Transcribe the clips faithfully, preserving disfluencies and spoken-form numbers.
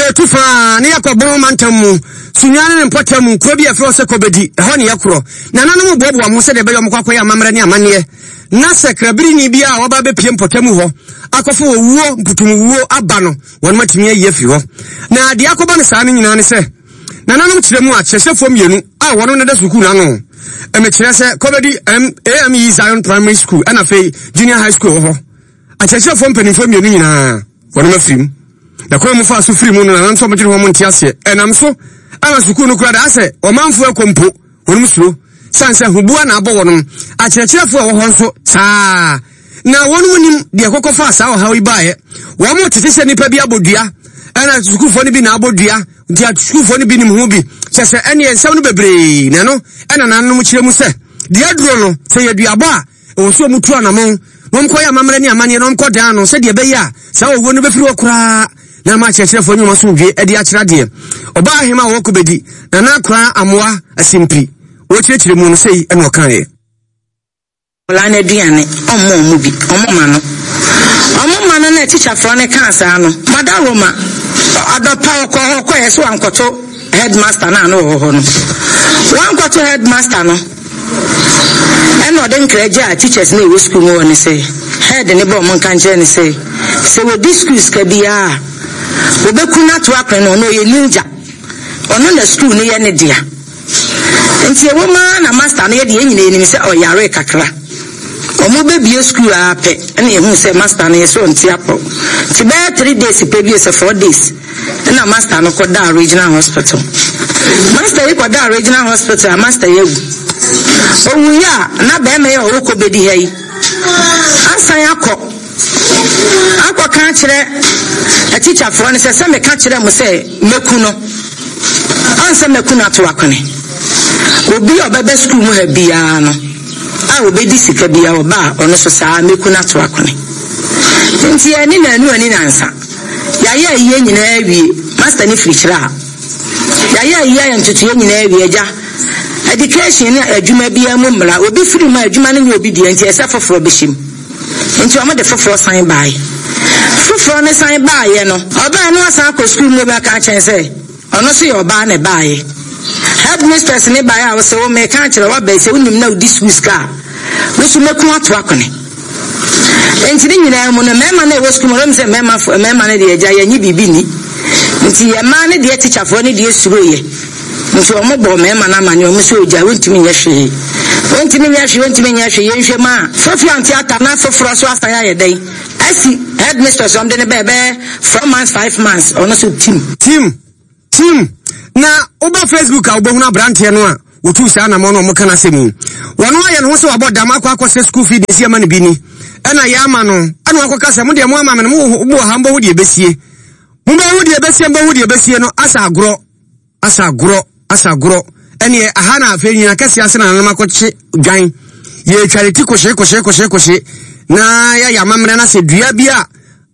Yɛtu faa ne yɛkɔ Bono mantam mu, Sunyani ne mpɔtam mu, kuro bi a yɛfrɛ hɔ sɛ Kobedi, ɛhɔ ne yɛkorɔ. Nananom boaboa wɔn ho sɛdeɛ ɛbɛyɛ wɔkɔ akɔyɛ amammerɛ ne amanneɛ. Na sɛ krabirini bi a waba abɛpue mpɔtam hɔ akɔfa owuo, mputumwuo aba no, wɔnom atumi ayi afiri hɔ. Na deɛ akɔba no saa no nyinaa ne sɛ, nananom kyerɛ mu a, kyerɛkyerɛfoɔ mmienu a wɔnom na da sukuu no ano, mekyerɛ sɛ Kobedi A M E Zion Primary School ɛna afei Junior High School wɔ hɔ, akyerɛkyerɛfoɔ mpanimfoɔ mmienu nyinaa wɔnom afiri mu. Na kwan mu faa so firi mu no, nananom sɛ wɔdwene ho nte aseɛ. Ɛnam so ama sukuu no kura da asɛ ɔmanfoɔ akɔ mpo wɔnom suro sane sɛ hubua na abɔ wɔnom. Akyerɛkyerɛfoɔ a ɛwɔ hɔ nso saa na wɔnom nim deɛ kɔkɔ faa saa ɔhaw yi baeɛ. Wɔn tete sɛ nnipa bi abɔ dua, ɛna sukuufoɔ no bi na abɔ dua, nti sukuufoɔ no bi nim ho bi kyɛ sɛ ɛneɛ nsɛm no bebree na ɛno ɛna nananom kyerɛ mu sɛ deɛ aduro no sɛ yɛ duabɔ a ɛwɔ so ɔmu tu anamɔn na ɔmkɔyɛ amammerɛ ne amanneɛ na ɔmkɔ dan no sɛdeɛ ɛbɛyɛ a saa owuo no bɛfiri hɔ koraa na ama akyerɛkyerɛfoɔ nnwuma so dwe de akyerɛ adeɛ. Ɔbaa ahema a wɔwɔ Kobedi, Nana Akora Amoa Asimpi, wɔkyerɛkyerɛ mu no sei ɛna ɔkaeɛ. Nkwadaa no aduane, ɔmma ɔmo bi, ɔmo ma no ɔmo ma no na tikyafoɔ no kaa saa no mada Roma adɔpa ɔkɔ hɔ kɔɛ sɛ wankɔto headmaster no a no wɔ hɔ no, wankɔto headmaster no, ɛna ɔde nkra gye a teachers no ɛwɔ school mu hɔ ne sɛ head ne bɔ ɔmo nka nkyerɛ ne sɛ sɛ wɔdi school sika biara a, wɔbɛku no ato akɔn no. Ɔno ɔyɛ ninja, ɔno na school no yɛ ne dea. Nti ɛwɔ mu ara na master no yɛ deɛ yɛn nyinaa anim sɛ ɔyare kakra. Ɔmo bɛbie school a pɛ ɛna ehu sɛ master no yɛ sɛ ɔnte apɔ, nti bɛyɛ three days pɛ bi sɛ four days ɛna master no kɔ daa Regional Hospital. Master yi kɔ daa Regional Hospital a, master yi awu. Owu yi a, na bɛrima yi a ɔwɔ kɔ bɛdi ha yi asan akɔ akɔka akyerɛ atikyafoɔ no sɛ sɛ meka kyerɛ mo sɛ mɛku no ansɛ mɛku no ato akɔne. Obi a ɔbɛbɛ sukuu mu ha biara no a obɛdi sika biara, ɔba a ɔno so saa mɛku no ato akɔne. Nti ɛne naanu ani nansa yɛayɛ ayie nyinaa awie. Master ne firi kyerɛ a yɛayɛ ayie ayɛ ntotoeɛ nyinaa awie. Agya, education ne adwuma biara mu mmara, obi firi mu a, adwuma no nyɛ obi deɛ, nti ɛsɛ foforɔ bɛhyɛ mu. Nti ɔmo de foforɔ san baeɛ. Foforɔ no san baeɛ no, ɔbaa no asan akɔ sukuu mu bɛka kyɛn sɛ ɔno nso yɛ ɔbaa na ɛbaeɛ. Headmistress ne baeɛ a wɔsɛ wo meka kyerɛ waba sɛ wonim na wodi sukuu sika a, wo so mɛku ato akɔne. Nti ne nyinaa mu no, mmarima no a ɛwɔ sukuu mu no sɛ mmarima mmarima no deɛ, agya, yɛnye biribi ni. Nti yɛ mmaa no deɛ, tikyafoɔ no deɛ suro yɛ, nti ɔmo bɔ mmarima no amane. Ɔmo sɛ ogya wontumi nyɛ hwee, wontumi nyɛ hwee, wontumi nyɛ hwee. Yɛnhwɛ mu a fofi ante ata na foforɔ so asan ayɛ dɛn asi headmistress. Ɔmo de ne bɛɛ bɛɛ four months, five months, ɔno so team. Team team na woba Facebook a, wobɛhunu aberanteɛ no a wɔtuu saa namɔ no. Ɔmo ka no asɛm yi, wɔno ayɛ ne ho sɛ wabɔ dam akɔ akɔsɛ school fee de si ama no bi ni ɛna yɛ ama no, ɛna wakɔka sɛ mo deɛ mo ama me no, mo wɔ ha, mbɔhu deɛ ɛbɛsie, mobɛhu deɛ ɛbɛsie, mbɔhu deɛ ɛbɛsie no. Asa agorɔ, asa agorɔ, asa agorɔ. Ɛneɛ aha na afei nyina kɛseɛ ase na nanom akɔkye dwan. Yɛtware ti kɔhye kɔhye kɔhye kɔhye na yɛayɛ amammerɛ no sɛ dua bi a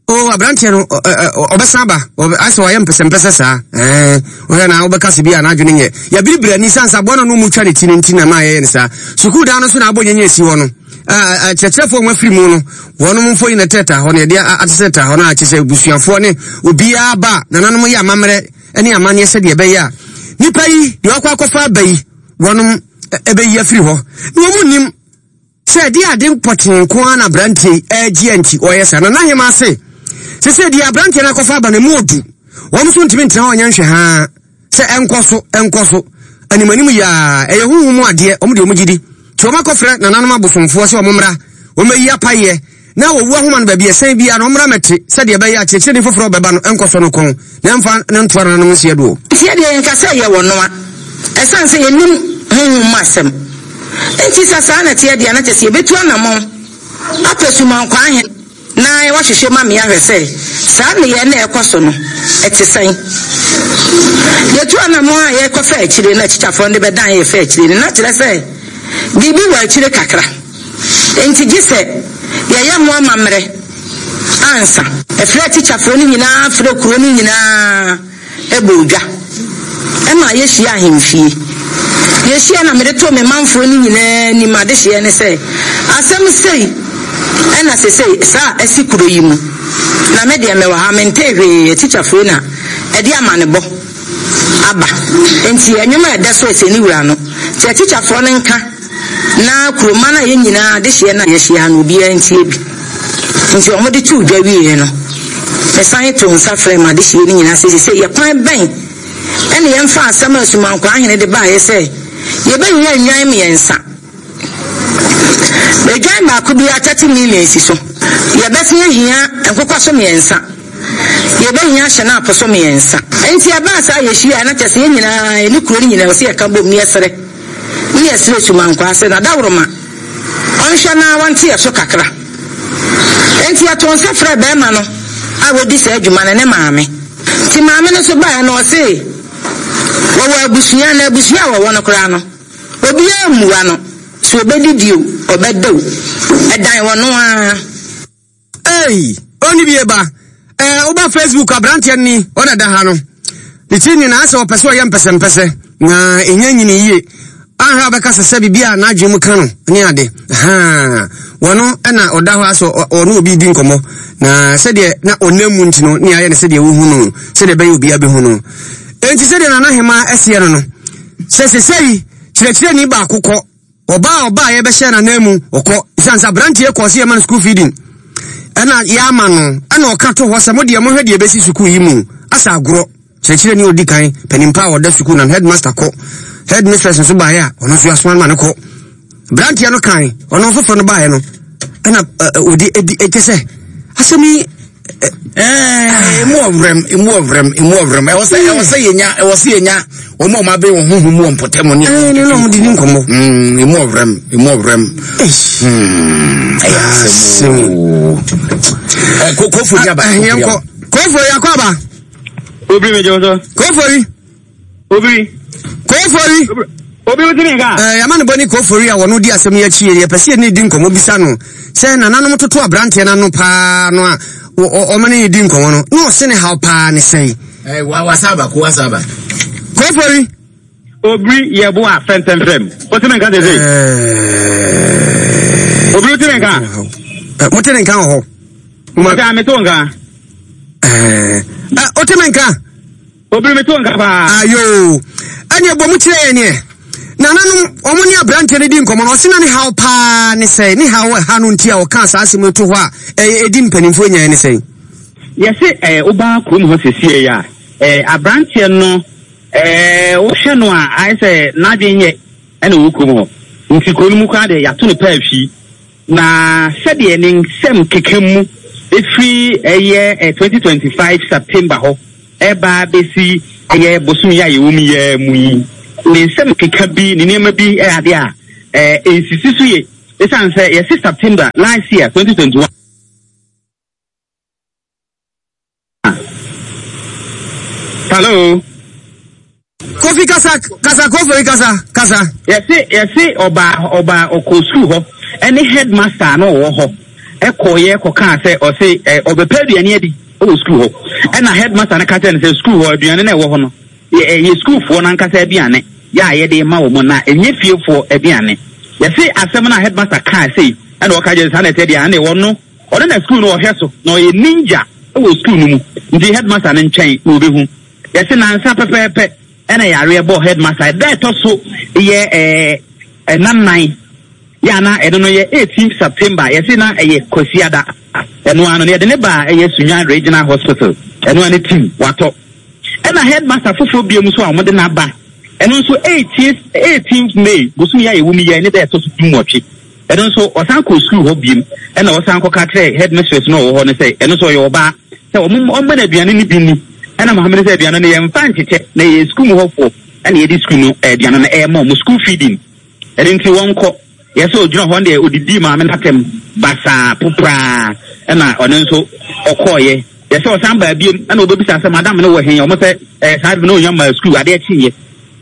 o aberanteɛ no ɔbɛsan ba asɛ ɔyɛ mpɛsɛmpɛsɛ saa. Ɛɛ wohwɛ na wobɛka se bi a n'adwene nyɛ yɛbiribiri ani sane sɛ aboa no no mu twa ne ti no nti na ma yɛyɛ no saa. Sukuu dan no so na abɔ nyɛnyɛ asi hɔ no, kyerɛkyerɛfoɔ wɔn afiri mu no, wɔnom mfo yi na tɛta hɔ no, yɛde atesɛ hɔ no a kyerɛ sɛ busuafoɔ ne obiara ba, nananom yɛ amammerɛ ne amanneɛ sɛdeɛ ɛbɛyɛ a nipa yi deɛ wakɔ akɔfa aba yi, wɔnom ɛbɛyi afiri hɔ. Na wɔn mu nim sɛ ɛde ade mpɔtee nko ara na aberanteɛ ɛregye nti ɔyɛ saa. Na n'ahema ase sɛ sɛ deɛ aberanteɛ no akɔfa aba no mu odu, wɔn nso ntumi ntena hɔ nyɛ nhwɛ haa sɛ ɛnkɔ so ɛnkɔ so animanim yaa. Ɛyɛ huhu mu adeɛ, wɔn deɛ wɔn gyi di nti wɔn akɔfrɛ nananom abosomfoɔ sɛ wɔn mmra, wɔn ayi apayɛ na wɔwu ahoma no baabi ɛsɛn biara na wɔn mmra mɛte sɛdeɛ ɛbɛyɛ akyerɛkyerɛni foforɔ bɛba no ɛnkɔ so no kɔn na ɛmfa ne ntoa nananom nseɛ doɔ. Nti yɛdeɛ yɛnka sɛ yɛ wɔ noa, ɛsiane sɛ yɛnim honhom mu asɛm nti, sɛ saa na teɛ deɛ, na kyɛ sɛ yɛbɛtu anammɔn apɛ sumankwaa ahe na wɔahwehwɛ ma mmea hwɛ sɛ saa nneyɛɛ na ɛkɔ so no ɛte sɛn. Yɛtu anammɔn a yɛkɔfa akyire na akyikyafoɔ no de bɛdan yɛ fa akyire no, na kyerɛ sɛ biribi wɔ akyire kakra, nti gye sɛ yɛyɛ ho amammerɛ ansa. Ɛfrɛ tikyafoɔ no nyinaa, frɛ kuro no nyinaa, ɛbɔ odwa ɛma yɛhyia ahemfie. Yɛhyia na mede too me manfoɔ no nyinaa anim adehyeɛ ne sɛ asɛm sei Ɛna sesei saa asi kuro yi mu. Na me deɛ mewɔ ha, mentee hwee, atikyafoɔ na ɛde amanebɔ aba. Nti ɛnwom a ɛda so ɛsɛ ne wura no. Nti atikyafoɔ no nka na kuroma no a yɛn nyinaa de hyeɛ no a yɛhyia no obiara ntie bi. Nti ɔmo de too dwa wieɛ no, mesan to nsa frɛ ma de hyeɛ no nyinaa sɛ sesei yɛ kwan bɛn ɛne yɛmfa asɛm a Asumankwaa ahene de baeɛ sɛ yɛbɛhia nnwan mmiɛnsa. Edwan baako biara thirty million si so. Yɛbɛsen ahia nkokɔ so mmiɛnsa. Yɛbɛhia hyɛnapo so mmiɛnsa. Nti ɛbaa saa yɛhyia na kyerɛ sɛ yɛn nyinaa yɛne kuro no nyinaa wɔ sɛ yɛka bom ne yɛsrɛ. Ne yɛsrɛ Asumankwaa sɛ n'adaworoma ɔnhwɛ na wɔnte yɛ so kakra. Nti yɛto nsa frɛ bɛrima no a wɔdi saa adwuma no ne maame. Nti maame no nso baeɛ no ɔse wɔwɔ abusua na abusua a wɔwɔ no koraa no obiara mmua no. So obɛdidi o, ɔbɛda o, ɛdan wɔ no ara. Ei, ɔni bie ba. Ɛɛ, woba Facebook aberanteɛ ni, ɔna da ha no. Ne tiri nyinaa sɛ ɔpɛ sɛ ɔyɛ mpɛsɛmpɛsɛ, na ɛnya nyini yie. Ahwɛ a ɔbɛka sɛ sɛ biribi a n'adwene mu ka no ne ade. Haa, wɔno ɛna ɔda hɔ asɛ ɔne obi di nkɔmmɔ. Na sɛdeɛ na ɔnam mu nti no, ne ayɛ no sɛdeɛ wohu no, sɛdeɛ ɛbɛyɛ obiara bɛhu no. Enti sɛdeɛ Nana Hemaa ɛseɛ no no, sɛ sesei kyerɛkyerɛni baako kɔ, ɔbaa ɔbaa yɛbɛhyɛ n'anan mu ɔkɔ ɛsiane sɛ aberanteɛ kɔɔ sɛ yɛma no school feeding ɛna yɛama no ɛna ɔka to hɔ sɛ mo deɛ mohwɛ deɛ ɛbɛsi sukuu yi mu asa agorɔ. Kyerɛkyerɛni a ɔdi kan panimpa a ɔda sukuu na headmaster kɔ, headmistress nso baeɛ a ɔno nso yɛasoma no ma no kɔ. Aberanteɛ no kan ɔno foforɔ no baeɛ no ɛna ɔde ɛdi ɛkyɛ sɛ asɛm yi emu ɔvrɛm emu ɔvrɛm emu ɔvrɛm ɛwɔ sɛ ɛwɔ sɛ yɛnya ɛwɔ sɛ yɛnya wɔn a wɔn abɛn wɔn huhu mu wɔ mpɔtam ne ɛɛ ne na wɔn de di nkɔmɔ. Emu ɔvrɛm emu ɔvrɛm ɛyɛ asɛm o. Ɛ kofo yi aba. Ɛyɛ nkɔ kofo yi akɔ aba. Obiri mi jẹ́ sọ. Kofo yi. Obiri. Kofo yi. Obi wo timi nka. Eh, yama ne bɔne Kofori a wɔno di asɛm yi akyi yɛ pɛ sɛ yɛne di nkɔmmɔ bisa no sɛ nananom toto aberanteɛ no ano paa no a ɔma ne di nkɔmmɔ no na ɔse ne haw paa ne sɛn. Eh, wa wasaba ko wasaba. Kofori. Obiri yɛ bo a fɛntɛmfrɛm. Wo timi nka sese. Eh, Obiri wo timi nka. Eh, mo te ne nka wɔ hɔ. Mo te ame to nka. Eh, eh, o timi nka. Obiri mi to nka paa. Ayo. Ɛne ɛbɔ mu kyerɛ yɛn neɛ. Nananom ɔmo ne aberanteɛ no di nkɔmmɔ no ɔse na ne haw paa ne sɛn, ne haw ɛha no nti a ɔkaa saa asɛm yi to hɔ a ɛyɛ ɛdi mpanimfoɔ nyaeɛ ne sɛn. Yɛse ɛɛ wobaa kurom hɔ sesie yi a ɛɛ aberanteɛ no ɛɛ wohwɛ no a ayɛ sɛ n'adwene nyɛ ɛna ɔwɔ kurom hɔ nti kuro no mu koraa deɛ yɛato no paa fii na sɛdeɛ ne nsɛm keka mu ɛfiri ɛyɛ twenty twenty-five September hɔ ɛba bɛsi ɛyɛ bosom yi a yɛwɔ mu yɛ mu yi ne nsɛm keka bi ne nneɛma bi ɛyɛ adeɛ a ɛɛ nsisi so yɛ ɛsiane sɛ yɛsi September last year twenty twenty-one. Hello. Kofi kasa kasa Kofi kasa kasa. Yɛsi yɛsi ɔbaa ɔbaa ɔkɔ sukuu hɔ ɛne headmaster no ɔwɔ hɔ ɛkɔ yɛ kɔkaa sɛ ɔse ɛ ɔbɛpɛ aduane adi ɛwɔ sukuu hɔ ɛna headmaster no ka kyerɛ no sɛ sukuu hɔ aduane no ɛwɔ hɔ no yɛ yɛ sukuufoɔ n'ankasa aduane yɛ a yɛde ma wɔn na ɛnyɛ fiefoɔ aduane. Yɛsi asɛm no a headmaster kaa sei ɛna ɔka kyerɛ saa na ɛsɛ deɛ ɛna ɛwɔ no ɔno na sukuu no ɔhwɛ so na ɔyɛ ninja ɛwɔ sukuu no mu nti headmaster no nkyɛn na ɔbɛhu. Yɛsi nansa pɛpɛɛpɛ ɛna yareɛ bɔ headmaster ɛda ɛtɔ so yɛ ɛɛ ɛnan nan yɛ ana ɛno no yɛ eighteenth September yɛsi na ɛyɛ Kwasiada ɛno ano no yɛde ne ba ɛyɛ Sunyani Regional Hospital ɛno ano team watɔ ɛna headmaster foforɔ bie mu so a wɔde n'aba ɛno nso eighteenth eighteenth May bosom yɛ a yɛwɔ mu yɛ ne da ɛtɔ so du nwɔtwe ɛno nso ɔsan kɔ sukuu hɔ biem ɛna ɔsan kɔka kyerɛ headmistress no ɔwɔ hɔ no sɛ ɛno nso ɔyɛ ɔbaa sɛ wɔn ɔmma no aduane no bi ni ɛna maame no sɛ aduane no yɛmfa nkyekyɛ na yɛ sukuu mu hɔfoɔ ɛna yɛde sukuu no aduane no ɛɛma ɔmo school feeding ɛno nti wɔnkɔ yɛsɛ ogyina hɔ deɛ odidi maame n'atɛm basaa popraa ɛna ɔno nso ɔkɔɔyɛ yɛsɛ ɔsan baa biem ɛna ɔbɛbisa sɛ madam no wɔ he ɔmo sɛ ɛɛ saa de no onya maa sukuu adeɛ kyeeɛ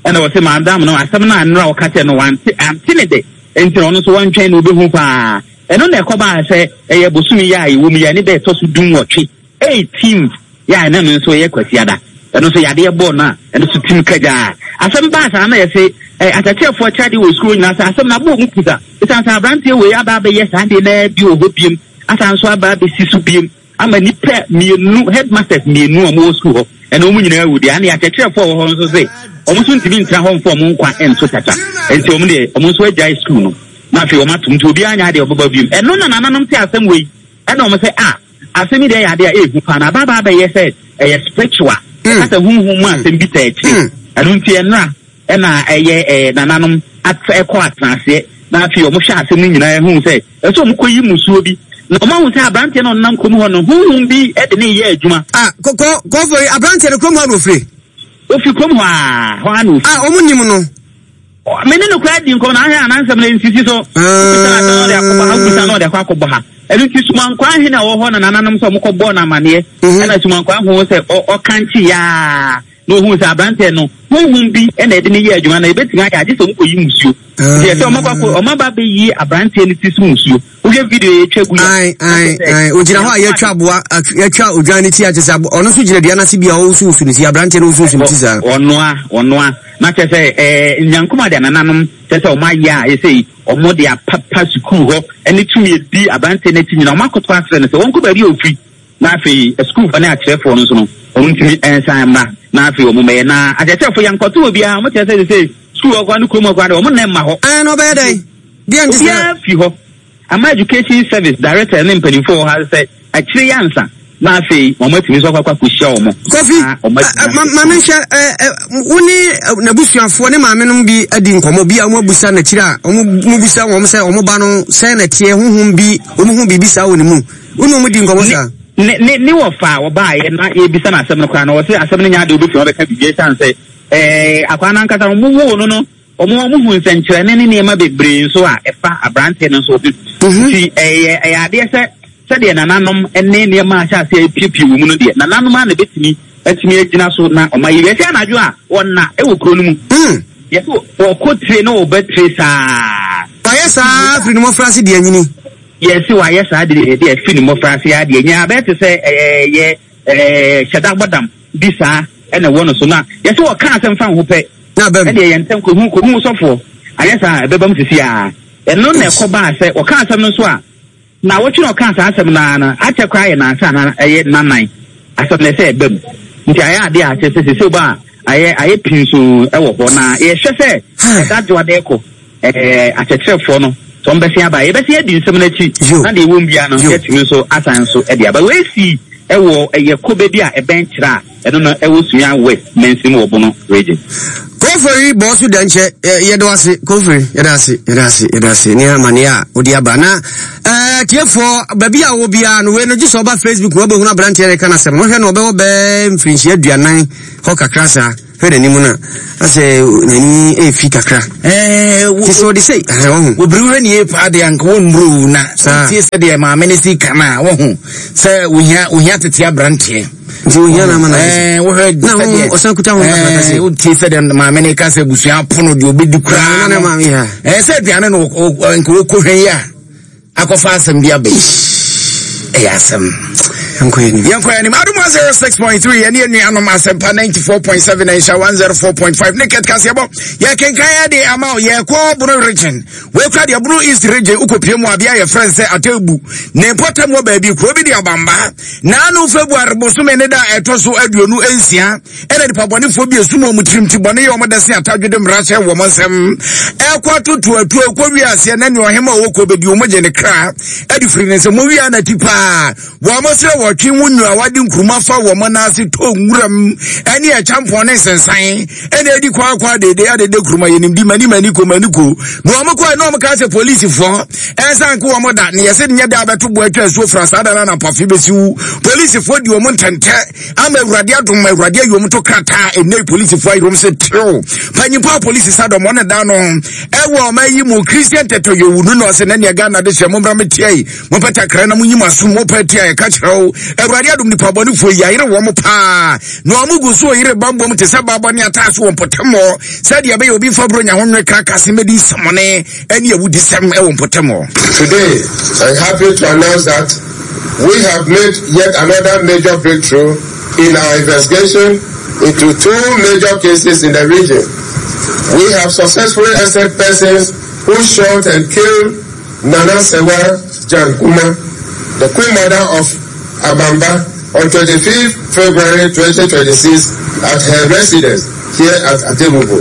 ɛna ɔsɛ madam no asɛm no a nnora ɔka kyerɛ no wante ante ne de nti na ɔno nso wɔntwɛn na ɔbɛhu paa ɛno na ɛkɔbaa sɛ ɛyɛ bosom yi a ɛwɔ mu yɛ ne dɛ ɛtɔ so du nwɔtwe eighteenth yɛ a ɛna no nso yɛ Kwasiada ɛno nso yadeɛ bɔɔ no a ɛno nso tim kagyaa Asɛm baa saa na yɛse eh, akyerɛkyerɛfoɔ kyerɛ adeɛ wɔ sukuu nyinaa sɛ asɛm no abɔ ɔmu pusa. Ɛsiane sɛ aberanteɛ wei aba abɛyɛ saa adeɛ no bi wɔ hɔ biem, asan nso aba abɛsi so biem ama nnipa mmienu, headmasters mmienu a wɔwɔ sukuu hɔ, ɛna wɔn nyinaa awu deɛ. Ane akyerɛkyerɛfoɔ a wɔwɔ hɔ nso se wɔn nso ntumi ntena hɔ mfa wɔn nkwa nto kyakya. Nti wɔn deɛ wɔn nso agyae sukuu no na afei wɔn atom, nti obiara nyɛ adeɛ ɔbɛba biom. Ɛno na nananom te asɛm wei, ɛna wɔn sɛ ah, asɛm yi deɛ yɛ adeɛ a ɛɛhu paa na aba abɛyɛ sɛ ɛyɛ spiritual, ɛka sɛ honhom mu asɛm bi taa akyire. Ɛno nti ɛnora ɛna ɛyɛ ɛɛ nananom at ɛkɔ atenaseɛ na afei wɔn hwɛ asɛm no nyinaa ɛhu sɛ ɛsɛ wɔn kɔ yi musuo bi na wɔn ahu sɛ aberanteɛ no ɔnam kurom hɔ no honhom bi ɛde ne yɛ adwuma. Ah, kɔ kɔfɔ yi aberanteɛ no kurom hɔ na ofiri. Ofi kurom hɔ a hɔ a na ofiri. Ah, wɔn nim no. Me ne no koraa di nkɔmɔ na ahwɛ anansɛm no nsisi so. Wobisa na ɔde akɔbɔ ha, wobisa na ɔde akɔ akɔbɔ ha. Ɛno nti Sumankwaa hene a ɔwɔ hɔ na nananom sɛ ɔmokɔ bɔɔ no amanneɛ. Ɛna Sumankwaa hu sɛ ɔkankye yaa na ohuu sɛ aberanteɛ no honhom bi ɛna ɛde ne yɛ adwuma na ebetumi ayɛ agye sɛ ɔmokɔ yi musuo. Nti ɛsɛ ɔmo akɔ ɔmo aba abɛyi aberanteɛ no ti so musuo. Wohwɛ video yɛ etwa gu ya. Ae ae ae ogyina hɔ a yɛatwa aboa yɛatwa odwan ne ti akyɛ sɛ ɔno nso gyina dua n'ase bi a ɔwosowoso ne ti aberanteɛ no wosowoso ne ti saa. Ɔnoa ɔnoa na kyerɛ sɛ ɛɛ nyankoma de anananom kyerɛ sɛ ɔmo ayɛ a yɛsɛ yi ɔmo de apapa sukuu hɔ ɛne tumi edi aberanteɛ n'akyi nyinaa ɔmo akoto asrɛ no sɛ wɔnkɔ baabi a ofiri na afei sukuufoɔ ne akyerɛfoɔ no nso no ɔmo ntumi nsan mma na afei ɔmo mɛyɛ na akyerɛkyerɛfoɔ yɛnkɔto obiara ɔmo kyerɛ sɛ sɛ sukuu hɔ koraa ne kurom hɔ koraa de ɔmo nna mma hɔ. Ɛn na ɔbɛyɛ dɛn? Deɛ nti sɛ. Obiara fi hɔ ama education service director ne mpanimfoɔ wɔ ha sɛ akyire yɛ ansa na afei wɔn atumi nso akɔ akɔhyia wɔn. Kofi, maame nhwɛ wo ne n'abusuafoɔ ne maame nom bi adi nkɔmmɔ bi a wɔn abusa n'akyiri a wɔn mu busa wɔn sɛ wɔn ba no sɛn na ɛteɛ honhom bi wɔn ho biribi saa wɔ ne mu wo ne wɔn di nkɔmmɔ saa. Ne ne ne wɔfa a wɔbaayɛ na yɛbisa no asɛm no koraa no wɔsɛ asɛm no nyɛ adeɛ wobɛtumi wɔbɛka biribi ɛsiane sɛ ɛɛ akwaa no ankasa wɔn woo no no wɔn wɔn hu nsɛnkyerɛnne ne nneɛma bebree nso a ɛfa aberanteɛ no nso ho. Nti ɛyɛ ɛyɛ adeɛ sɛ sɛdeɛ nananom ne nneɛma ahyɛ aseɛ apiepie wɔ mu no deɛ nananom a na ebetumi atumi agyina so na ɔma yɛ wiase anadwo a wɔna ɛwɔ kuro no mu. Yɛsɛ wɔkɔ tire na wɔba tire saa. Wayɛ saa firi ne mmɔfra ase deɛ anyini. Yɛsi wayɛ saa deɛ deɛ firi ne mmɔfra ase adeɛ nyɛ abɛɛ te sɛ ɛyɛ ɛɛ hyɛda bɔdam bi saa ɛna ɛwɔ no so na yɛsɛ wɔka asɛm fa ho pɛ. Ɛdeɛ yɛn ntɛm kohu kohu sɔfoɔ ayɛ saa ɛbɛba mu sisi a ɛno na ɛkɔ baa sɛ wɔka asɛm no nso a na wɔtwe na ɔka saa asɛm naa no akyɛ koraa yɛ nansa na ɛyɛ nanan asɛm no ɛsɛ ɛba mu nti ayɛ adeɛ a akyɛ sɛ sɛ ba a ayɛ ayɛ pii nso ɛwɔ hɔ na yɛhwɛ sɛ ɛda dwoa dɛ kɔ ɛɛ akyerɛkyerɛfoɔ no sɛ wɔn bɛsi aba yɛbɛsi adi nsɛm n'akyi na deɛ ɛwɔ mu biara no yɛtumi nso asan nso ɛde aba wɔasi ɛwɔ ɛyɛ kobe bi a ɛbɛn kyerɛ a ɛno no ɛwɔ Sunyani West Mansin wɔ Bono region. Kofori bɔɔso dɛnkyɛ yɛde ase Kofori yɛde ase yɛde ase yɛde ase ne amaneɛ a wode aba na ɛɛ tiefoɔ baabi a wɔ biara no wei no gye sɛ ɔba Facebook na wobɛhunu aberanteɛ no ka no asɛm no hwɛ no ɔbɛwɔ bɛɛ mfirinhyia aduanan hɔ kakra saa hwɛ n'anim no a asɛ n'ani ɛɛfi kakra te sɛ ɔde sɛ ɔho obiri hwɛ ne yie paa deɛ anka wɔmmuro na tie sɛ deɛ maame no si ka no a wɔho sɛ wohia wohia tete aberanteɛ nti ohia na ama na ɛɛ wohwɛ na ho ɔsan kuta ho kakra sɛ wotie sɛ deɛ maame no ka sɛ abusua apono deɛ obɛdi koraa na maame ha ɛɛ sɛ aduane no nka wɔkɔhwɛ yi a akɔfa asɛm bi aba yi ɛyɛ asɛm yɛnkɔ anim Adom one oh six point three yɛne anuanom Asɛmpa ninety-four point seven nhyɛ one oh four point five ne kɛt kaseɛbɔ yɛkenkan yɛ ama wo yɛkɔ Bono region wɔkura deɛ Bono East region wokɔpie mu abea yɛ frɛ sɛ Atebu ne mpɔtam wɔ baabi kuro bi de abamba naano February bosome ne da ɛtɔ so aduonu nsia ɛna nipa bɔnefoɔ bi esum wɔn tirim ti bɔne yɛ wɔn dɛsɛ atadwede mmara hyɛ wɔn nsɛm ɛkɔ atoto atuo kɔ wiaseɛ na nea ɔhema ɔwɔ kɔ bɛdi wɔn gye ne kra ɛde firi ne nsɛm wia na ti paa wɔn srɛ wɔtwe mu nua wɔde nkuruma fa wɔn nan ase to nwuram ɛne ɛkyampɔn ne nsensan ɛna edi kɔ akɔ adede adede kuruma yɛ nimdi mani mani ko mani ko na wɔn kɔ na wɔn ka sɛ polisifoɔ ɛnsan ko wɔn da ne yɛsɛ nyɛ da abɛto bo atwa asuo fra saa da na nampafe bɛsi wu polisifoɔ di wɔn ntɛntɛ ama awurade adom awurade ayi wɔn to krataa ɛnɛ polisifoɔ ayi wɔn sɛ terew panyinpo a polisi sa dɔm wɔn da no ɛwɔ ɔma yi mu Christian tɛtɛ yɛ owu no na ɔsɛ nɛnea Ghana de hyɛ mo mbra me tia yi mo pɛ takra na mo nyi mo asom mo pɛ tia yɛ ka kyerɛ wo awurade adom nipa bɔnefoɔ yi ayere wɔn paa na wɔn gu so oyere bambom te sɛ baabɔ ne ataase wɔ mpɔtam hɔ sɛdeɛ ɛbɛyɛ obi fa buro nya ho nwe krakase mɛdi nsɛmɔne ɛne awudi sɛm ɛwɔ mpɔtam hɔ. Today, I'm happy to announce that we have made yet another major breakthrough in our investigation into two major cases in the region We have successfully arrested persons who shot and killed Nana Sewa Jankuma, the Queen Mother of Abamba, on twenty-fifth February twenty twenty-six at her residence here at Atebubu.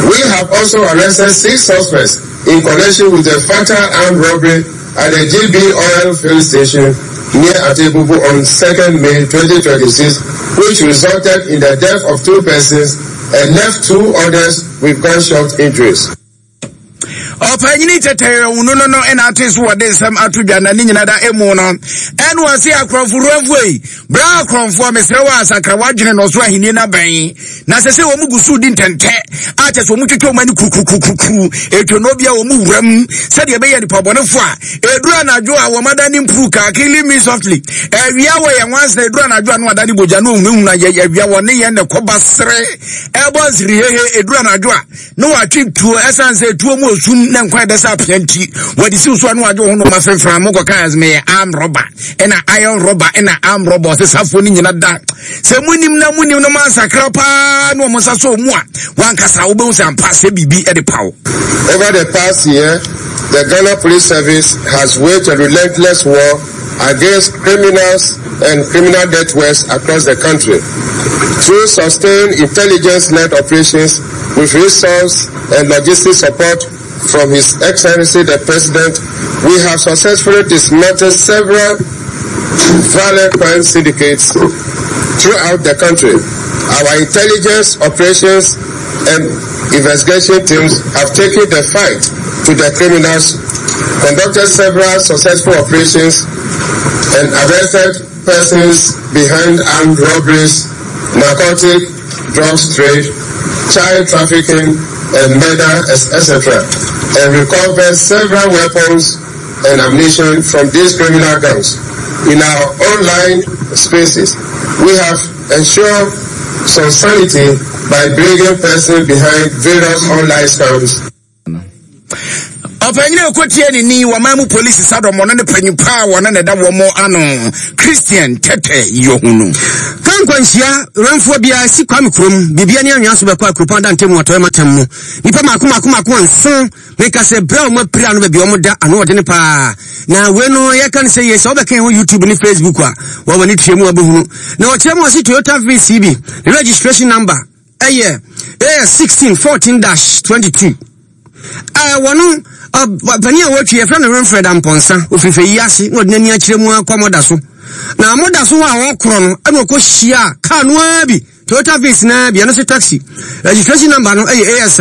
We have also arrested six suspects in connection with the fatal armed robbery at the G B Oil Filling Station near Atebubu on second May twenty twenty-six, which resulted in the death of two persons and left two others with gunshot injuries. Ɔpanyini tɛtɛrɛ wunu no no ɛna ate so wɔde nsɛm ato dwa na ne nyina da emu no ɛne wɔse akorɔmfo yi bra akorɔmfoɔ, mesrɛ wɔ asakra wadwene no so ahenni no abɛn na sɛ sɛ wɔn gu so di ntɛntɛ a kyɛ sɛ wɔn twitwa wɔn ani kurukurukurukuru etwa no bia wɔn wuram sɛdeɛ ɛbɛyɛ nipa bɔnefoɔ a eduru anadwo a wɔn ada ne mpuru kaa "Killing me softly". Awia wɔ yɛn nwansa, eduru anadwo a no ada ne bogya no ohunahuna yɛ awia wɔ ne yɛn na ɛkɔba sere ɛbɔ nsiri hehe. Eduru anadwo a na watwe tuo, ɛsan sɛ tuo mu osum na nkwan bɛsɛ apea nti wɔde siw so a na wagye wo ho no ma femfra mo kɔka ɛsɛ arm robber ɛna iron robber ɛna arm robber. Ɔsɛ safoɔ no nyina da sɛ munim na munim no mansakra paa na ɔmo nsa so mu a wankasa wobɛhu sɛ ampa sɛ biribi ɛde paw. Over the past year, the Ghana Police Service has waged a relentless war against criminals and criminal networks across the country. Through sustained intelligence-led operations with resource and logistic support from His Excellency the President, we have successfully dismantled several violent crime syndicates throughout the country. Our intelligence operations and investigation teams have taken the fight to the criminals, conducted several successful operations, and arrested persons behind armed robberies, narcotic drugs trade, child trafficking, and murder, et cetera, and recovered several weapons and ammunition from these criminal gangs. In our online spaces, we have ensured some sanity by bringing persons behind various online scams. Ɔpanyini ɛkɔtie ne ni wɔman mu polisi sadɔm ɔno ne panyin paa wɔne ne da wɔn ano, Christian Tɛtɛ Yohunu. Ka nkwanhyia rɛmfoɔ biara si Kwame kurom biribia ne anwea so bɛkɔ akuropɔn da ntam atɔeɛ matam mu nnipa maako maako maako nson. Meka sɛ berɛ a ɔma apira no baabi a ɔmo da ano ɔdene paa na wei no yɛka no sɛ yɛ sɛ wobɛka ho YouTube ne Facebook a wɔwɔ ne tua mu abɛhunu na ɔkyerɛ mu ɔse Toyota Vitz bi ne registration number ɛyɛ ɛyɛ sixteen fourteen dash twenty-two. Ɛɛ wɔno panin a wɔatwi yɛfrɛ no Winfred Ampɔnsa, ofirifɛ yi ase na ɔde n'ani akyerɛ mu akɔ mɔda so na mɔda so hɔ a wɔkorɔ no ɛna ɔkɔ hyia kaa no ara bi, Toyota Vitz na bi, ɛno so taxi registration number no ɛyɛ A S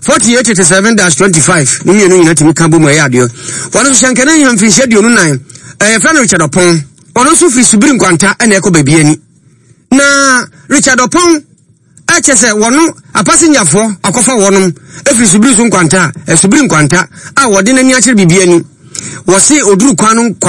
forty-eight eighty-seven dash twenty-five. Ne mmienu nyinaa tumi ka bɔ mu ɛyɛ adeɛ. Wɔno nso hyɛnkɛne yɛ mfirinhyia aduonu nan, ɛyɛ fɛ no Richard Ɔpɔn, ɔno nso firi Subiri Nkwanta ɛna ɛkɔ baabi ani na Richard Ɔpɔn ɛkyɛ sɛ wɔno apasenyafoɔ akɔfa wɔnom ɛfiri Subiri so Nkwanta a Subiri Nkwanta a wɔde n'ani akyerɛ biribi ani wɔse oduru kwan no.